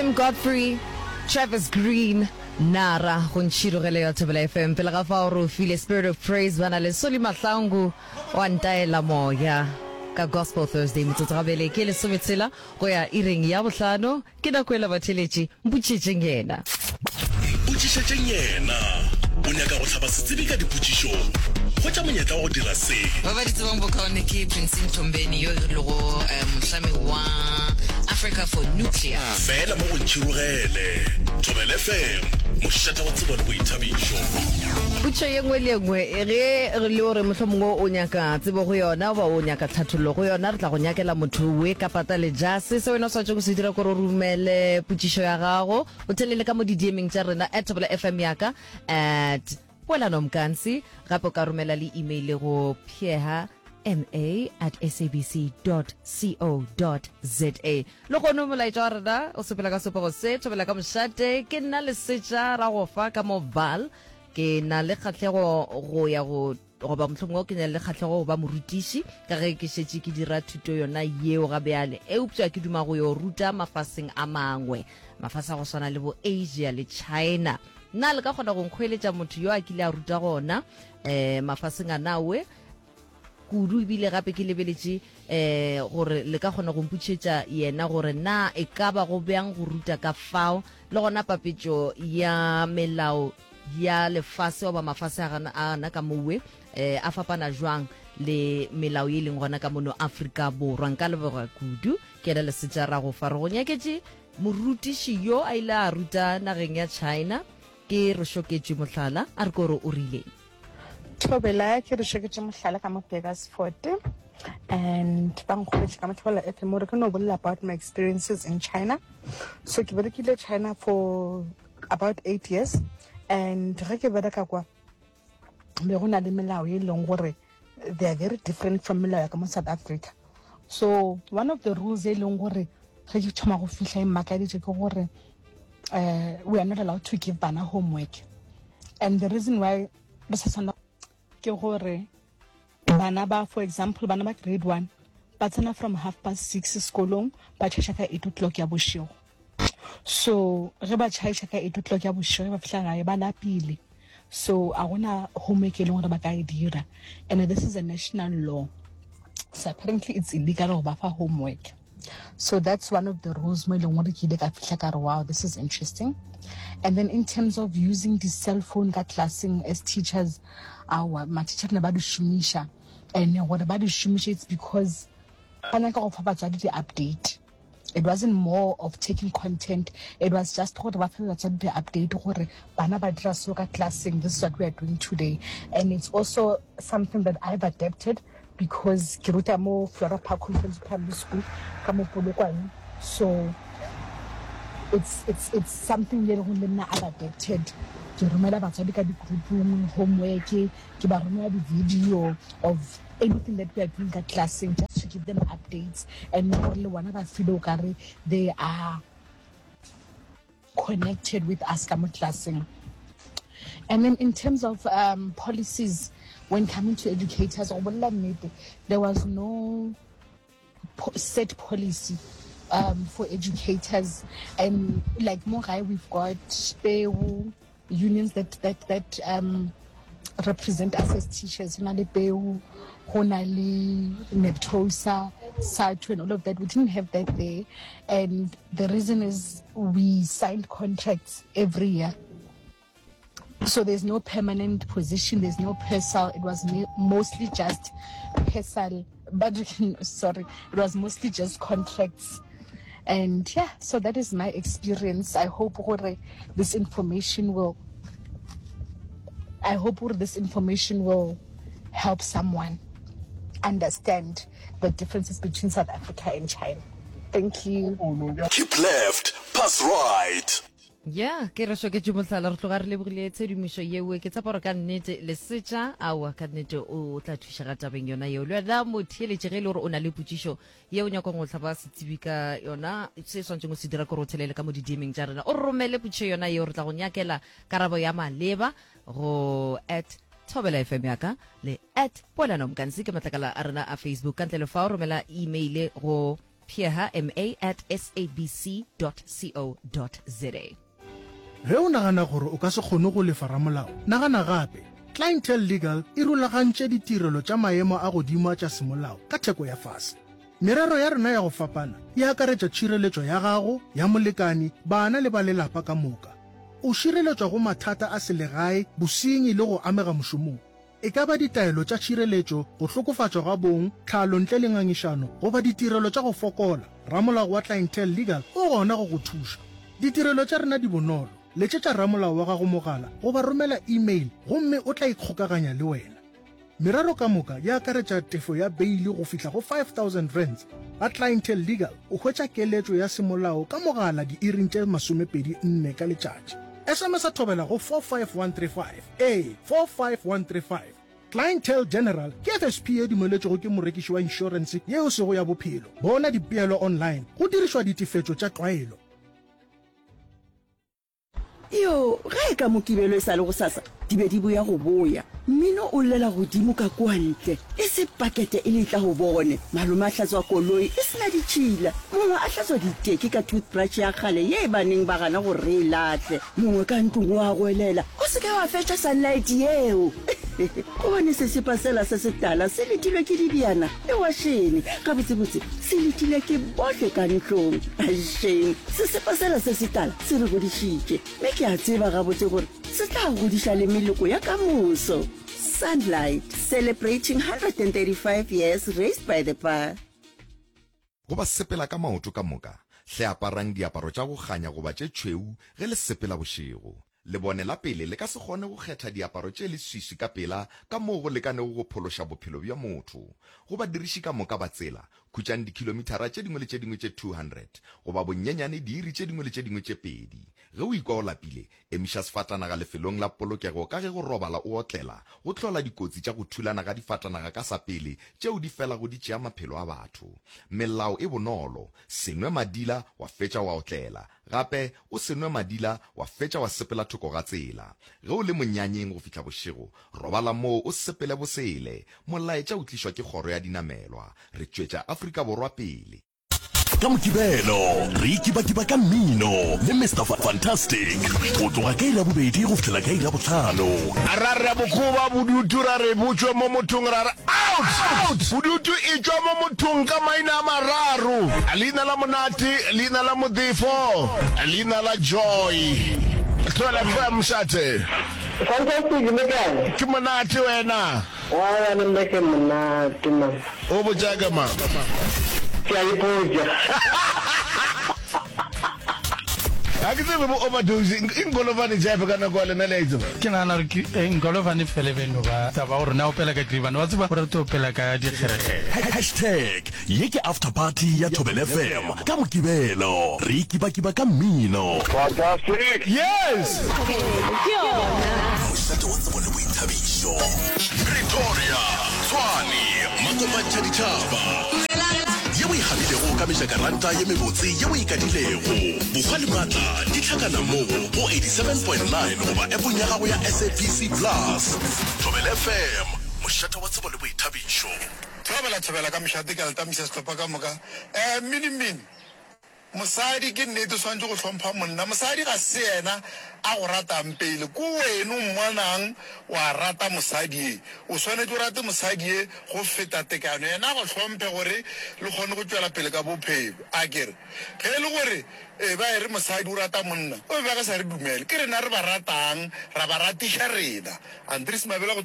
Tim Godfrey, Travis Green, Nara go ntšhirogele ya Thobela FM. Pele ga fao re o file Spirit of Praise ba na le Soli Mahlangu wa ntaela moya ka Gospel Thursday metsotso gabele ke lesometshela go ya iring ya bohlano. Ke nako ela batheeletši, mpotšišetšeng yena. Mpotšišetšeng yena. O nyaka go hlaba setsebi ka dipotšišo? Hwetša monyetla wa go dira se. Ba ba di tsebang bokaone ke Prince Mthombeni yo e lego mohlami wa Africa for Nuclear. Fela mo go Ntšhirogele. Thobela FM, mošate wa tsebo le boithabišo. Potšišo ye nngwe le ye nngwe ge re le gore mohlomongwe o nyaka tsebo go yona goba o nyaka tlhathollo go yona, re tla go nyakela motho we ka pata le jase. Se wena o swanetšego go se dira ke gore o romele potšišo ya gago, o thelele ka mo di-DM-eng tša rena at Thobela FM ya ka, at Poelano Mkansi. Gape o ka romela le email go pheha ma at sabc dot co dot za. Lehono molaetša wa rena o sepela ka sepego se, Thobela ka mošate, ke nna Lesetša Ragofa ka mo Vaal. Ke na le kgahlego go ya go goba mohlomongwe ke na le kgahlego go ba morutiši ka ge ke šetše ke dira thuto yona yeo ga bjale, eupša ke duma go yo ruta mafaseng a mangwe, mafase a go swana le bo Asia le China. Na le ka kgona go nkgoeletša motho yo a kile a ruta gona um mafaseng a nawe? Kudu ebile gape ke lebeletše um gore le ka kgona go mpotšišetša yena gore na e ka ba go bjang go ruta ka fao, le gona papetšo ya melao ya lefase goba mafase a gana a gana ka mowe um a fapana jwang le melao ye e leng gona ka mono Afrika Borwa. Nka leboga kudu. Ke yena Lesetša Ragofa. Re go nyaketše morutiši yo a ile a ruta nageng ya China. Ke re šoketšwe mohlala, a re ko re o rileng. Thobela, ke re šoketše mohlala ka mo Burgersfort and ba nkgopetše ka mo Thobela FM gore ke no bolela about my experiences in China. So ke berekile China for about 8 years and ge ke bereka kwa be go na le melao e leng gore they are very different from melao ya ka mo South Africa. So one of the rules e leng gore ge ke thoma go fihla e mmakaditše ke gore uh, we are not allowed to give bana homework and the reason why re sa tshwanela ke gore bana ba for example bana ba grade one ba tsena from half past six sekolong ba tšhaiša ka eight o'clock ya bošego so ge ba tšhaiša ka eight o'clock ya bošego ba fihla gae ba lapile so a gona homework e leng gore ba ka e dira and this is a national law so apparently it's illegal go ba fa homework so that's one of the rules mo e leng gore ke ile ka fihla ka re wow this is interesting and then in terms of using the cell phone ka classeng as teachers aowa ma-teacher ne ba di šomiša and gore ba di šomiše it's because ba nyaka go fa batswadi di-update it wasn't more of taking content it was just gore ba fe batswadi di-update gore bana ba dira so ka classeng this is what we are doing today and it's also something that i've adapted because ke ruta mo Flora Park Conference Primary School ka mo Polokwane so it's, it's, it's something ye leng le nna I've adapted ke romela batswadi ka di-groupong homework ke ba romela di-video of anything that we are doing ka classeng just to give them updates and gore le bona ba feel o kare they are connected with us ka mo classeng and then in terms of um, policies when coming to educators go bolela nnete there was no set policy um, for educators and like mo gae we've got peu unions that that that um, represent us as teachers go na le peu go na le neptosa SADTU and all of that we didn't have that there and the reason is we signed contracts every year so there's no permanent position there's no PERSAL it was mostly just PERSAL but sorry it was mostly just contracts and yeah so that is my experience i hope gore this information will i hope gore this information will help someone understand the differences between south africa and china thank you Keep left, pass right. Ya, ke re šoketše mohlala, re tloga re lebogile tshedimošo yeo. Ke tshepa gore ka nnete Lesetša, aowa, ka nnete o tla thušega tabeng yona yeo. Le wena motheeletši, ge e le gore o na le potšišo ye o nyakang go hlaba setsebi ka yona, se swanetšeng go se dira ke gore o thelele ka mo di-DM-eng tša rena, o re romele potšišo yona yeo, re tla go nyakela karabo ya maleba go at Thobela FM ya ka le at Poelano Mkansi ke matlakala a rena a Facebook. Ka ntle le fao, romela email go. Pheha ma at sabc dot co dot za. Ge o nagana gore o ka se kgone go lefa ramolao, nagana gape. Clientele Legal e rulagantše ditirelo tša maemo a godimo a tša semolao ka theko ya fase. Merero ya rena ya go fapana e akaretša tšhireletšo ya gago, ya molekani, bana le ba lelapa ka moka. O šireletšwa go mathata a selegae, bosenyi le go amega mošomong. E ka ba ditaelo tša tšhireletšo, go hlokofatšwa ga bong, tlhalo ntle le ngangišano, goba ditirelo tša go fokola, ramolao wa Clientele Legal o gona go go thuša. Ditirelo tša rena di bonolo, letšetša ramolao wa gago mogala goba romela email gomme o tla ikgokaganya le wena. Merero ka moka e akaretša tefo ya beili go fihla go R5000. Ga Clientele Legal o hwetša keletšo ya semolao ka mogala diiring tše 24 ka letšatši. SMS-a thobela go 45135. Ee, 45135. Clientele General ke FSP ye dumeletšwego ke morekiši wa inšorense ye e sego ya bophelo. Bona dipeelo online go dirišwa ditefetšo tša tlwaelo. Yo, ge e ka Mokibelo e sa le gosasa, di be di boya go boya. Mmino o llela godimo ka kua ntle, e se pakete e letla go bone. Malome a hlatswa koloi e se na ditšhila, mongwe a hlatswa diteki ka toothbrush ya kgale ye ba neng ba gana gore re e lahle. Mongwe ka ntlong o a goelela, O se ke wa fetša sunlight yeo! Gobane sesepa sela se setala se letilwe ke dibjana le wašene. Gabotsebotse, se letilwe ke bohle ka ntlong. Shame, sesepa sela se setala se re godišitše, mme ke a tseba gabotse gore se tla godiša le meloko ya ka moso. Sunlight, celebrating 135 years raised by the bar. Go ba sepela ka maoto ka moka, hle aparang diaparo tša go kganya goba tše tšhweu ge le sepela bošego. Lebone la pele le ka se kgone go kgetha diaparo tše leswiswi ka pela ka moo go lekanego go phološa bophelo bja motho. Go badiriši ka moka ba tsela, khutšang dikhilomithara tše dingwe le tše dingwe tše 200 goba bonyenyane diiri tše dingwe le tše dingwe tše pedi. Ge o ikwa o lapile, Emiša sefatanaga lefelong la polokego ka ge go robala o otlela go hlola dikotsi tša go thulana ga difatanaga ka sa pele tšeo di felago di tšea maphelo a batho. Melao e bonolo, se nwe madila wa fetša wa otlela, gape o se nwe madila wa fetša wa sepela thoko ga tsela. Ge o le monyanyeng go fihla bošego, robala moo o sepele bosele. Molaetša o tlišwa ke Kgoro ya Dinamelwa. Re tšwetša Afrika Borwa pele. Ka Mokibelo re ikibakiba ka mmino le Mister Fantastic go tloga ka iri ya bobedi go fihlela ka iri ya bohlano. Ra re bokoba bodutu ra re bo tšwe mo mothong ra re out! Bodutu e tšwa mo mothong ka maina a mararo, leina la Monate, leina la Modefo, leina la Joy. Thobela FM mošate. Fantastic le kae? Ke monate wena. Aowa le nna ke monate man. O botša ka mang? Ke a ipotša. Ga ke tsebe bo overdose e nkolovane Jeff ka nako ya lena le a e tseba. Ke nagana gore ke eh, nkolovane fele be no ba taba gore na opela ka Tlibane wa tseba o rata opela ka dikgerekgere. Hashtag ye ke after party ya Thobela FM ka Mokibelo. Re ikibakiba ka mmino. Fantastic! Yes! Ke yona. Mošate wa tsebo le boithabišo. Pretoria, Tshwane, Makopantšha ditšhaba. Ye o e gabilego ka mejakaranta ye mebotse ye o e kadilego. Bohwa le maatla di hlakana mo go 87.9 goba appong ya gago ya SABC Plus. Thobela FM, mošate wa tsebo le boithabišo. Thobela thobela ka mošate ke a le tamisa sehlopha ka moka. Eh mmini mmini. Mosadi ke nnete o swanetše go hlompha monna. Mosadi ga se yena a go ratang pele, ke wena o mmonang wa rata mosadi ye. O swanetše o rate mosadi ye go feta tekano, yena a go hlomphe gore le kgone go tšwela pele ka bophelo. Akere ge e le gore e ba e re mosadi o rata monna, o be ba ka sa re dumele. Ke rena re ba ratang, ra ba ratiša rena. Andries Mabela go tšwa.